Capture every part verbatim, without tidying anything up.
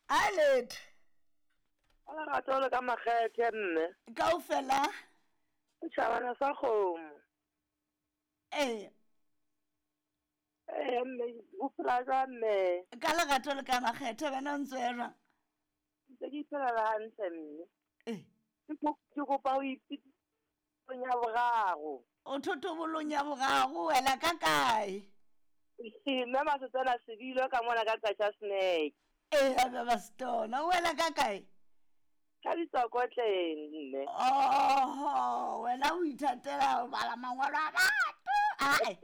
A letho. Ka lerato le ka makgethe mme. Kaofela. Setjhabana sa kgomo. Ee. Ee mme, o phela jwang mme? Ka lerato le ka makgethe, wena o ntse o ya jwang? Ntse ke iphelela hantle mme. Ee. Ke kopa ho ipitsa ya boraro. O thotobolong ya boraro wela ka kae? Mme Masetsana Sebilo ka mona ka Qacha's Nek. Ee, a ba Stona, o wela ka kae? Ka ditsokotleng mme. Oho, wena o ithatela ho bala mangolo a batho. Ae,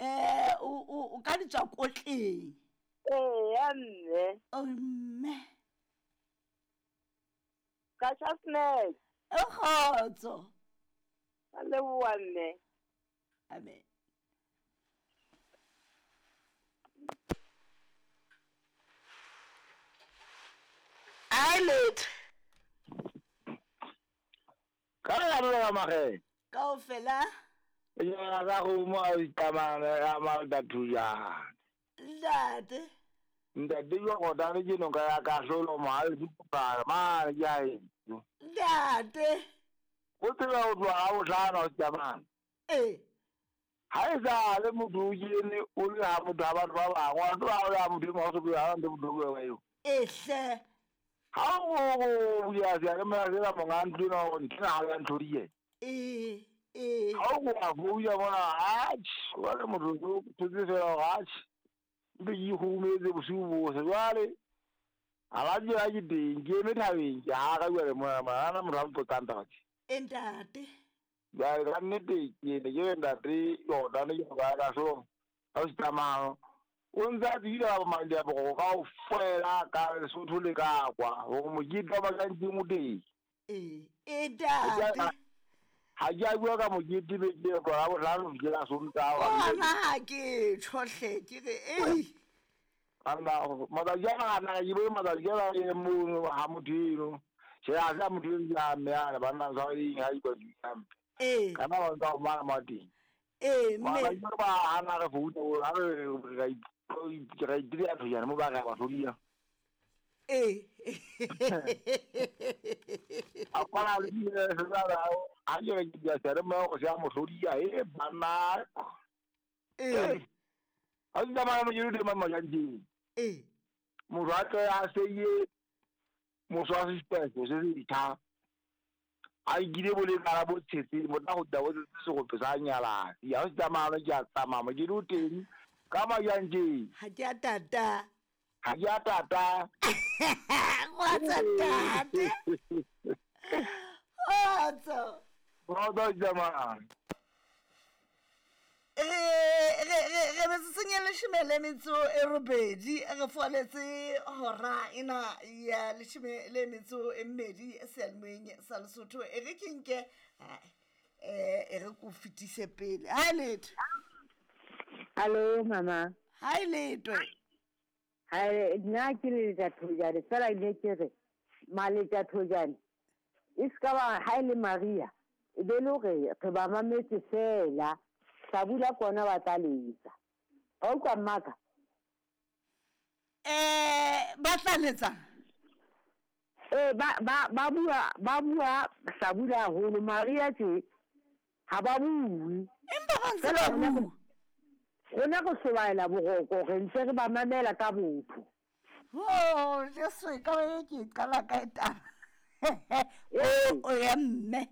eh o o ka ditswakotleng. Ee, ya mme. O mme. Qacha's Nek. E kgotso. Ka leboha mme. Amen. Eyelid. Ka lerato le ka makgethe. Kaofela. Setjhabana sa kgomo a ikamana a malta thujana. Ntate. Ntate Jordane ke noka ya kahlolo mohale dipukana mane ke a heso. Ntate. O tseba ho tloha ha bohlano o tsamaya. Ee. Ha e sale motho o kene o le ha motho ha batho ba bangwe, wa tseba ha o le ha motho e mong ha o so bue ha ntse motho o bua ka eo. Ee hle. Ha o bua seyalemoya sena monga ntlo ena hore nthwena ha ya ntlhodie. Ee, ee. Ha o kopa founa mona, atjhe, jwale motho o thotse fela hore atjhe, mpe ke ikgurumetse bosiu bohle. Jwale ha ba tseba ke teng, ke eme thabeng, ke hara jwale mona mona, ha hona motho a mpotsang taba tje. E ntate. Jwale ka nnete ke ne ke re ntate Jordane ke noka ya kahlolo ha o se tsamaya o ntse a tsebile ka bo kaofela ka Lesotho le ka kwa hore mokete wa Makantseng o teng. Ee, e ntate. Ha ke a bua ka mokete beke e tloha bohlano ho fihlela Sontaha. Ona ha ke tjho hle, ke re ei. Banna matsatsi ana ana ke bone matsatsi ana e mono ha motho eno. Tjhe ha se motho eno ke a mme ana banna tshwareng ha ikwa hampe. Ee. Kana ba ntsa ho mara mo teng. Ee mme. Ba ba hana re founa ha re ra ra itira thojana mo ba re ba hlodia. Ee. A kwana le di ha ke re ke dia sere mo go sia mo hlodia e banna. Ee. Ha di tsamaya mo ke di mama ja nteng. Ee. Motho a tle a seye motho wa sespeso se se ditha. A ikile bo le kala bo tshetse mo tla go tla bo tsetse segope sa nyalasi. Ha o se tsamaya ke a tsamaya mo ke di o teng ka majanteng. Ha ke a tata. Ha ke a tata. Kgotso ntate. Kgotso. Kgotso tsamaya. Re re re metsotsong e leshome le metso e robedi re foletse hora ena ya leshome le metso e mmedi seyalemoyeng sa Lesotho. E re ke nke eh e re ko fetise pele. Ha letho. Hallo mama. Ha letho. Ha nna ke le Thojane fela ne ke re Maletja Thojane e ska ba ha ile Maria e be le hore re ba mametse fela. Hlabula kona ba tla letsa. Ha utlwa mmaka? Eh ba tla letsa. Eh ba ba ba bua ba bua hlabula haholo Maria tje ha ba bue. Empa ba ntse ba bua. Rona re hlobaela boroko re ntse re ba mamela ka botho. Oh, Jesu ka e ke qala ka e taba. O ya mme.